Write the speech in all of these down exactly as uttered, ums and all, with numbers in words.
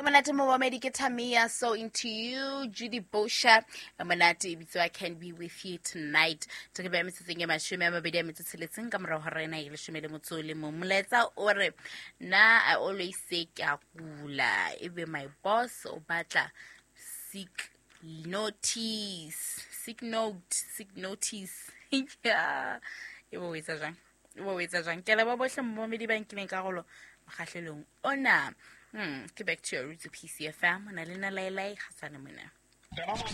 Monate momamedi ke Tamia So Into You, Judy Bosha monate e bitswa Can Be With You Tonight. Ke ba metsotsong e mashome a mabedi a metso tsheletseng ka morao ga rena e leshome le motso le mong. Molaetsa o re nna I always say ke a kula, ebe my boss o batla sick notice, sick note, sick notice. Yeah, e bo etsa jang, e bo etsa jang. Ke leboha bohle momamedi ba nkileng karolo mokgahlelong ona. Hmm, ke back to your roots P C F M. Na le na laelai kgatsane mona. Ha ke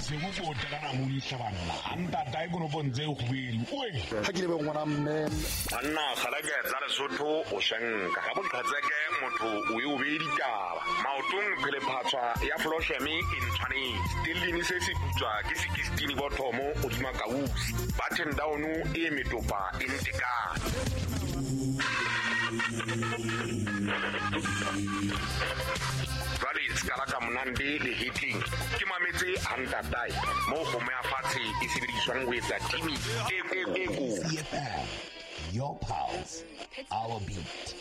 le ngwana mme anna kgalake tsa Lesotho o shanka ga boqhatseke motho o e o be ditaba maotong phele phatswa ya flosheme e ntshwanetse tellini se se putswa ke sixteen bothomo o dima kausi button down e metopa e ntekana. Jwale ska la ka monande le hitting ke mametse hantatai mo go mo ya fatshe e sebediswang ho etsa timi e e e Your pulse, our beat.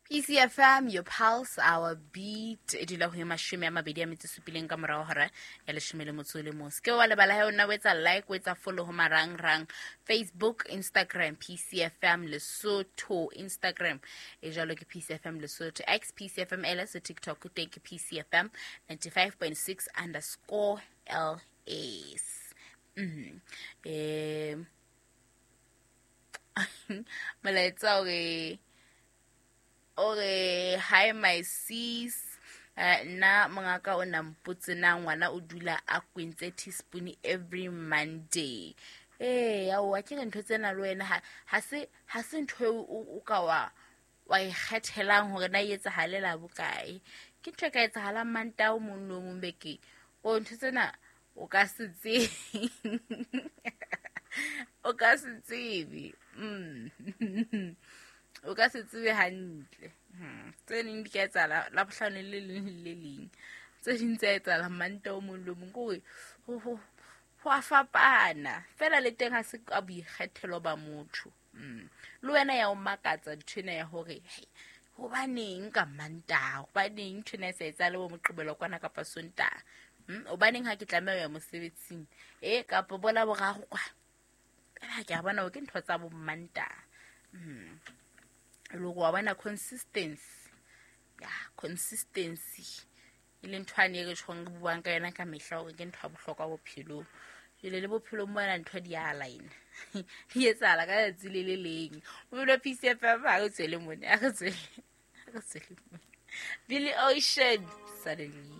P C F M, your pulse, our beat. E dula ho e mashome a mabedi a metso supileng ka morao hora ya leshome le motso le mong. Ke wa lebala he o nna o etsa like, o etsa follow ho marangrang Facebook, Instagram, P C F M Lesotho, Instagram e jwalo ke P C F M Lesotho, X P C F M L S, TikTok teng ke P C F M ninety-five point six underscore L S. Mm. Eh molaetsa o re ore hi my sis, nna mongaka o na mpotse na ngwana o dula a kwentse teaspoon every Monday. Eh ya o ke ntho tsena le wena ha ha se ha se ntho o ka wa wa ikgethelang hore na e etsahale la bokae. Ke ntho e ka etsahalang Mantaha o mong le o mong beke. O ntho tsena o ka se tsebe. O ka se tsebe. Mm. O ka se tsebe hantle. Tse ding di ka etsahala la bohlano le leng le leng. Tse ding tsa etsahala Mantaha o mong le o mong. Ke hore ho ho a fapana. Fela le teng ha se ka boikgethelo ba motho. Mm. Le wena ya o makatsa ntho ena ya hore hey, hobaneng ka Mantaha, hobaneng ntho ena e sa etsahale bo Moqebelo kwana kapa Sontaha. Mm, hobaneng ha ke tlameha ho ya mosebetsing eh kapa bola boraro kwa. Fela ke a bona ke ntho tsa bo Mantaha. Mm. Le go bona consistency. Ya, consistency. E le ntho ane re tshwang re buang ka yona ka mehla hore ke ntho ya bohlokwa bophelong. Jwale le bophelong bona ntho di a align. Di etsahala ka letsatsi le le leng. O bile P C F M ha re tswele mone, ha re tswele. Ha re tswele mone. Billy Ocean suddenly.